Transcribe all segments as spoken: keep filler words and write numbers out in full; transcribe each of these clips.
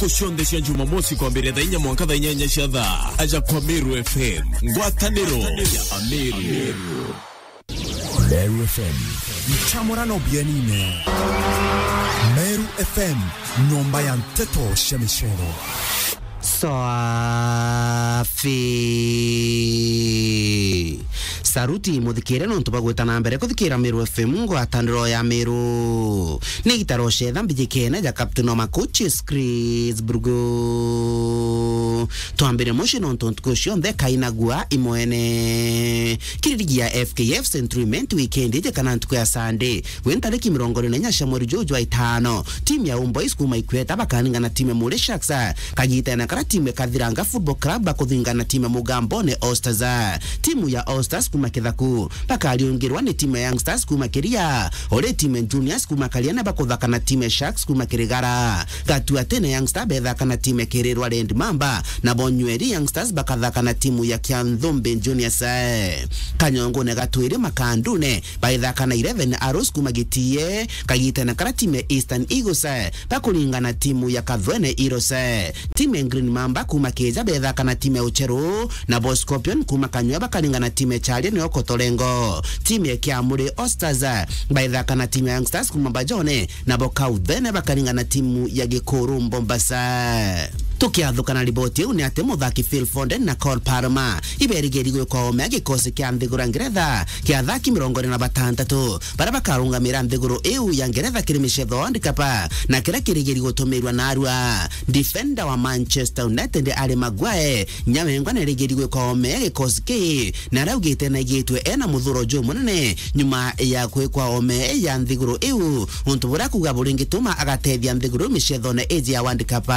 Ntuku cionthe cia Jumamosi kwambiria thaa inya mwanka thaa inyanya cia thaa, aja kwa Meru F M, ngwataniro ya Ameru. Meru F M. Ncamurano bienine. Meru F M, nyomba ya nteto cia micero. Swafi. Saruti muthikire nontu bwa gwita na mbere kuthikira Meru F M, ngwataniro ya Meru. Ni gitaro cetha mbijikene ja Captain wa Makuchi, Chris Brugu. Twambire muci nontu ntuku cionthe kainagua imwene. Kiri ligi ya F K F Century Mint weekend iji kana ntuku ya Sunday, wi ntariki mirongo iri na inya cia mweri juju jwa itano, timu ya Homeboys kuma Ikweta bakaringana na timu ya Mure Sharks. Kagitene kara timu ya Kathiranga Football Club bakuthingana na timu ya Mugambone All Stars. Timu ya All Stars kuma Kithaku bakariungirwa ni timu ya Young Stars kuma Kiria, uri timu ya Juniors kuma Kariana bakuthaka na timu ya Sharks kuma Kirigara. Gatuatene Young Stars bethaka na timu ya Kirirwa Red Mamba, nabo Nyweri Young Stars bakathaka na timu ya Kianthumbi Juniors. Kanyongone Gatwiri Makandune baithaka na Eleven Arrows kuma Gitie, kagitene kara timu ya Eastern Eagles bakuringana na timu ya Kathwene Heroes. Timu ya Green Mamba kuma Kija bethaka na timu ya Ucheru, nabo Scorpion kuma Kanywa bakaringana na timu ya Charia nio Kotolengo. Timu ya Kiamuri All Stars baithaka na timu ya Young Stars kuma Bajone, nabo Kauthene bakaringana na timu ya Gikuru Mombasa. Tukiathuka na riboti iu ni ati muthaki Phil Foden na Cole Palmer iberigeri gwikwa ome ya gikosi kia nthiguru ya Ngeretha kia athaki mirongo iri na batantatu baria bakarungamira nthiguru iu ya Ngeretha kiri micetho ya World Cup, na kiria kirigeri gutumirwa narua. Defender wa Manchester United Harry Maguire nyawengwa nerigeri gwikwa ome ya gikosi kii, na araugite naigitwe ena muthuro jumunene nyuma ya kwikwa ome ya nthiguru iu, untu buria akuga buringituma agatethia nthiguru micethone iji ya World Cup.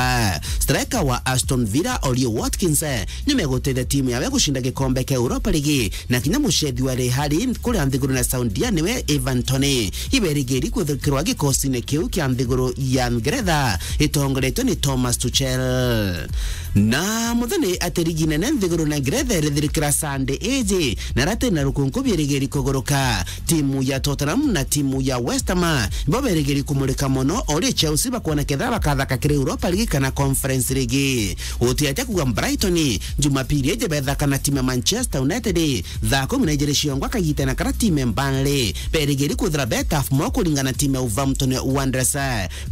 Striker wa Aston Villa Ollie Watkins nimegutethia timu yawe gucinda gikombe kia Europa League, na kinya mucethi wa Real kuria nthiguru na Saudia niwe Ivan Toney. Iberigeri kwithikirwa gikosine kiu kia nthiguru ya Ngeretha itongoretwe ni Thomas Tuchel. Na muthenya ati ligi nene nthiguru na Ngeretha irithirikira Sunday iji, na rati na rukunku bierigeri kuguruka. Timu ya Tottenham na timu ya West Ham ibo berigeri kumurika mono, ori Chelsea bakwona kethira bakathaka kiri Europa League kana Conference League. Utiatia kuga Brighton Jumapili iji bethaka na timu ya Manchester United thaa kumi na ijiri ciongwa kagitene kara timu ya Burnley berigeri kwithira be tough mono kuringana na timu ya Wolverhampton Wanderers.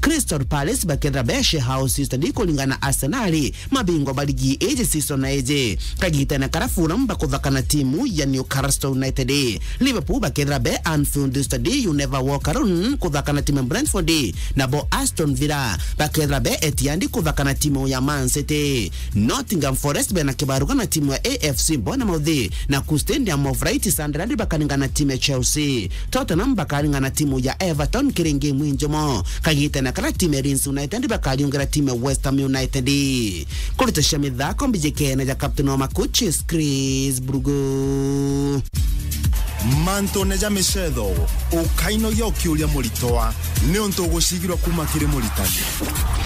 Crystal Palace bakethira be sharehouse study kuringana na Arsenal, mabingwa ba ligi iji season na iji. Kagitene kara Fulham bakuthaka na timu ya Newcastle United. Liverpool bakethira be Anfield study, you never walk alone kuthaka na timu ya Brentford. Nabo Aston Villa bakethira be Etihad kuthaka na timu ya Man City. Nottingham Forest bena kibaruga na timu ya A F C Bournemouth, na ku Stadium of Light Sunderland bakaringana na timu ya Chelsea. Tottenham bakaringana na timu ya Everton kiri ngemu injomo. Kagitene kara timu ya Leeds United bakariungira timu ya West Ham United. Kurita cia mithako mbijikene ja captain wa Makuchis Chris Brugu. Mantune ja micetho, ukainogia ukiuria muritwa, niuntu ugucigirwa kuma kiri muritani.